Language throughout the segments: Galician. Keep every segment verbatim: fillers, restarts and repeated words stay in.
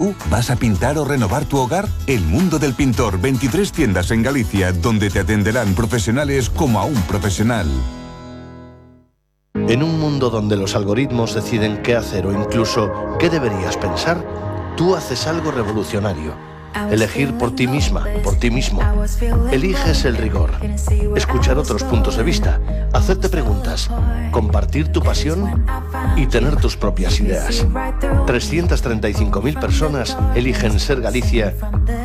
Uh, ¿Vas a pintar o renovar tu hogar? El Mundo del Pintor, veintitrés tiendas en Galicia, donde te atenderán profesionales como a un profesional. En un mundo donde los algoritmos deciden qué hacer o incluso qué deberías pensar, tú haces algo revolucionario. Elegir por ti misma, por ti mismo. Eliges el rigor. Escuchar otros puntos de vista. Hacerte preguntas. Compartir tu pasión y tener tus propias ideas. trescientas treinta y cinco mil personas eligen ser Galicia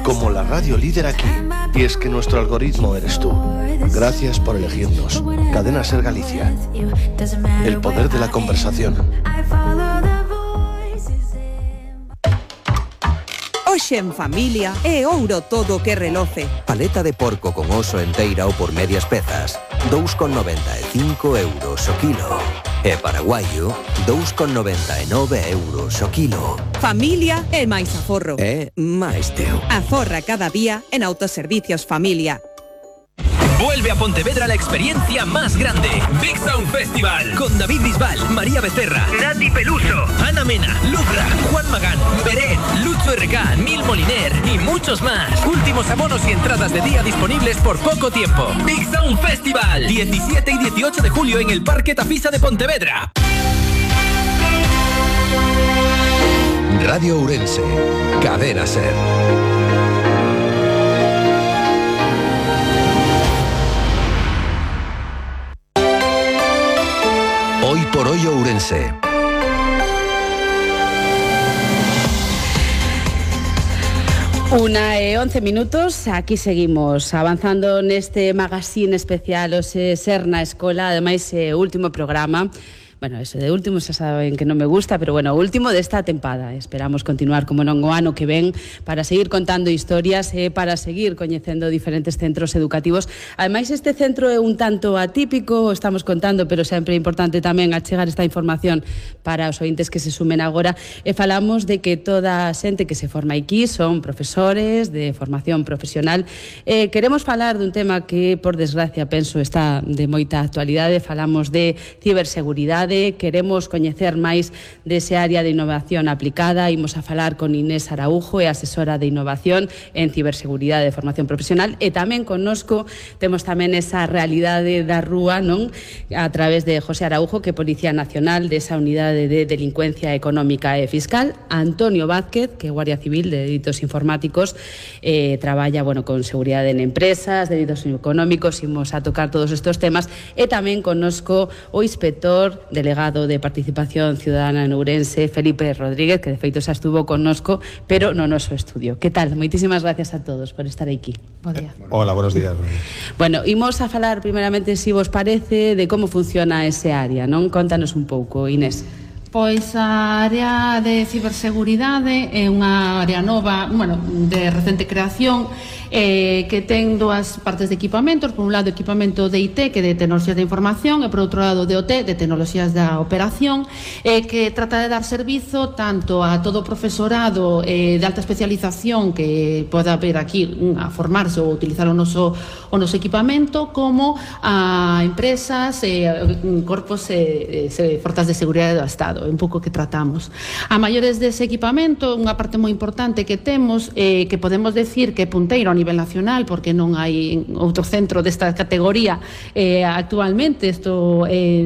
como la radio líder aquí. Y es que nuestro algoritmo eres tú. Gracias por elegirnos. Cadena Ser Galicia. El poder de la conversación. Hoxe en familia é ouro todo que reloce. Paleta de porco con oso enteira ou por medias pezas, dous con noventa e cinco euros o kilo. E paraguaio, dous con noventa e nove euros o kilo. Familia é máis aforro. É máis teu. Aforra cada día en Autoservicios Familia. Vuelve a Pontevedra la experiencia más grande. Big Sound Festival. Con David Bisbal, María Becerra, Nati Peluso, Ana Mena, Lucra, Juan Magán, Beret, Lucho R K, Nil Moliner y muchos más. Últimos abonos y entradas de día disponibles por poco tiempo. Big Sound Festival. diecisiete y dieciocho de julio en el Parque Tafisa de Pontevedra. Radio Ourense. Cadena Ser. Hoy por hoy Ourense. Una e once minutos, aquí seguimos avanzando neste magazine especial o se Ser na Escola, ademais é o último programa. Bueno, eso de último xa saben que non me gusta, pero bueno, o último desta tempada. Esperamos continuar como non o ano que ven para seguir contando historias e para seguir coñecendo diferentes centros educativos. Ademais, este centro é un tanto atípico, estamos contando, pero sempre é importante tamén achegar esta información para os ointes que se sumen agora. E falamos de que toda a xente que se forma aquí son profesores de formación profesional. Eh, queremos falar dun tema que, por desgracia, penso está de moita actualidade. Falamos de ciberseguridade. Queremos coñecer máis dese área de innovación aplicada. Imos a falar con Inés Araujo, é asesora de innovación en ciberseguridade de formación profesional, e tamén connosco temos tamén esa realidade da rúa, non? A través de José Araujo, que é Policía Nacional desa unidade de delincuencia económica e fiscal, Antonio Vázquez, que é Guardia Civil de delitos informáticos, eh, traballa, bueno, con seguridade en empresas, delitos económicos. Imos a tocar todos estes temas, e tamén connosco o inspector de delegado de Participación Ciudadana en Ourense, Felipe Rodríguez, que de feito xa estuvo connosco, pero no noso estudio. Que tal? Moitísimas gracias a todos por estar aquí. Bo día. Hola, buenos días. Bueno, imos a falar primeramente, se si vos parece, de como funciona ese área, non? Contanos un pouco, Inés. Pois a área de ciberseguridade é unha área nova, bueno, de recente creación, eh, que ten dúas partes de equipamentos. Por un lado, equipamento de I T, que de tecnoloxías de información, e por outro lado, de O T, de tecnoloxías da operación, eh, que trata de dar servizo tanto a todo o profesorado eh, de alta especialización que poda vir aquí a formarse ou utilizar o noso, o noso equipamento, como a empresas, eh, corpos e eh, forzas de seguridade do Estado. É un pouco que tratamos. A maiores dese equipamento, unha parte moi importante que temos, eh, que podemos decir que é punteiro a nivel nacional, porque non hai outro centro desta categoría eh, actualmente. Isto eh,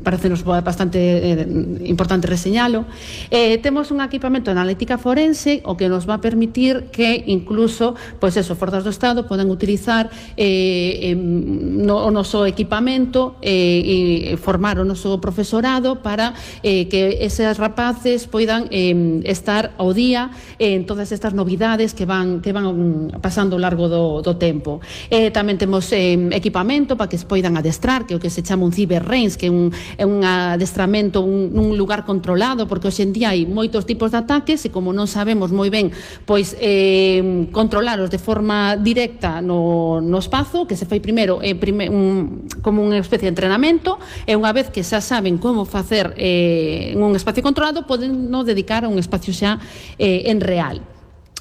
parecenos bastante eh, importante reseñalo. Eh, temos un equipamento de analítica forense, o que nos va a permitir que incluso, pois eso, forzas do Estado poden utilizar eh, eh, no, o noso equipamento eh, e formar o noso profesorado para eh, que eses rapaces poidan eh, estar ao día en todas estas novidades que van que van pasando ao largo do, do tempo. Eh, tamén temos eh, equipamento para que se poidan adestrar, que é o que se chama un cyber range, que é un, é un adestramento un, un lugar controlado, porque hoxe en día hai moitos tipos de ataques e como non sabemos moi ben pois eh, controlaros de forma directa no, no espazo, que se fai primeiro eh, prime, un, como unha especie de entrenamento, e unha vez que xa saben como facer eh, en un espacio controlado, poden no dedicar a un espacio xa eh, en real.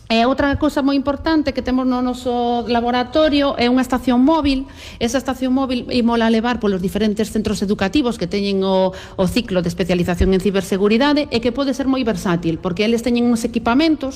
E outra cousa moi importante que temos no noso laboratorio é unha estación móvil. Esa estación móvil ímola levar polos diferentes centros educativos que teñen o, o ciclo de especialización en ciberseguridade e que pode ser moi versátil, porque eles teñen uns equipamentos